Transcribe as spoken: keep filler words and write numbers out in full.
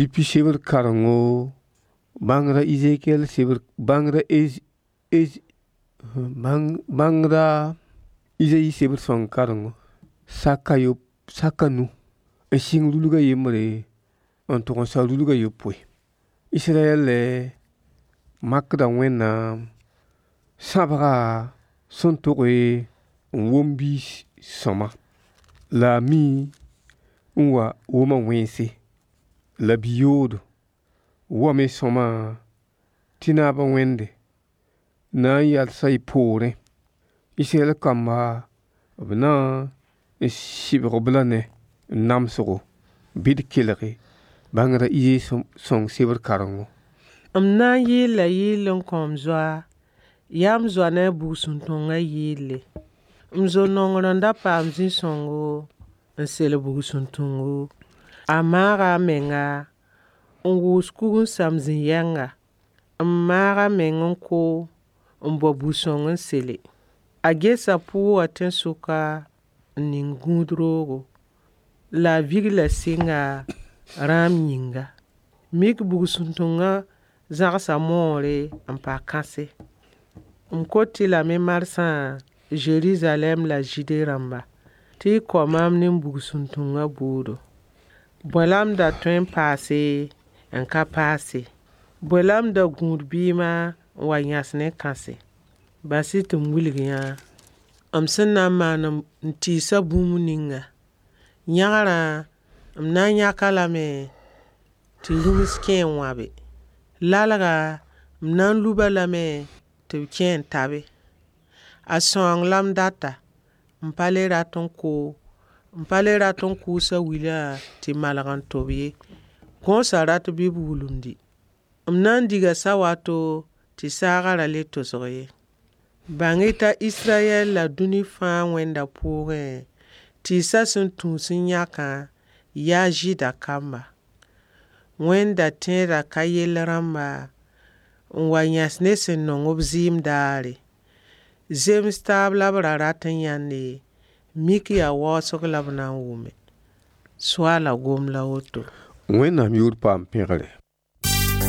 Pipi sebr karengo, bãngrã Ezekiel sebr bãngrã Ez Ez bãng bãngrã Izayi sebr sõng karengo saka yop saka nu n sɩng rulga yembre n tʋg n sa rulga yopoe. Israyɛl makda Wẽnnaam sãbga sẽn toge n wom biis sõma la a mi n wa woma wẽnse la bi-yoodo wame sõma tɩ naab a Wẽnde na n yalsa y poorẽ. Israyɛl kamba b na n sɩbg-b la ne namsgo bɩ d kelge bãngrã Izayi sõng sebr karengo. M na n yɩɩl la yɩɩl n kõ m zoa, yaa m zoa ne a bugsuntõngã yɩɩle. M zo-nongr n da paam zĩ-sõngo n sel bugsuntõngo. A maaga a menga n wʋʋs kug n sam zĩ-yɛnga, n maag a meng n ko n bao bu-sõng n sele. A gesa pʋʋgã tẽn-sʋka n ning gũud roogo. La a vigla sɩnga rãam yĩnga. Mik bugsuntõngã zãgsa moore n pa kãse. M kot-y lame marsã Zerizalɛɛm la Zɩɩde rãmba tɩ y kao maam ne bugsuntõngã bʋʋdo. Bõe la m da tõe n paase n ka paase? Bõe la m da gũud bɩɩmã n wa yãs ne kãse? Bas-y tɩ m wilg yã m sẽn na n maan n tɩɩsa bũmb ninga. Yãgrã m na n yãk-a lame tɩ rũms kẽ n wãbe. Lalga m na n lub-a lame tɩ b kẽ n tabe. A sãoong la m data. M pa le rat n ko, m pa le rat n kʋʋsa wilã tɩ malg n tob ye. Gõosã rat bɩ b wulumdi. M na n diga sawato tɩ saagã ra le tosg ye. Bãng-y t'a Israyɛl la dũni fãa Wẽnda pʋʋgẽ, tɩɩsã sẽn tũus n yãkã yaa Zɩɩda kamba. Wẽnda tẽedã ka yell rãmba n wa yãs ne sẽn nong b zɩɩm daare. Zems taab la b ra rat n yãnde, mik yaa waoosg la b na n wʋme. Soaala gom la woto. Wẽnnaam yʋʋr paam pẽgre.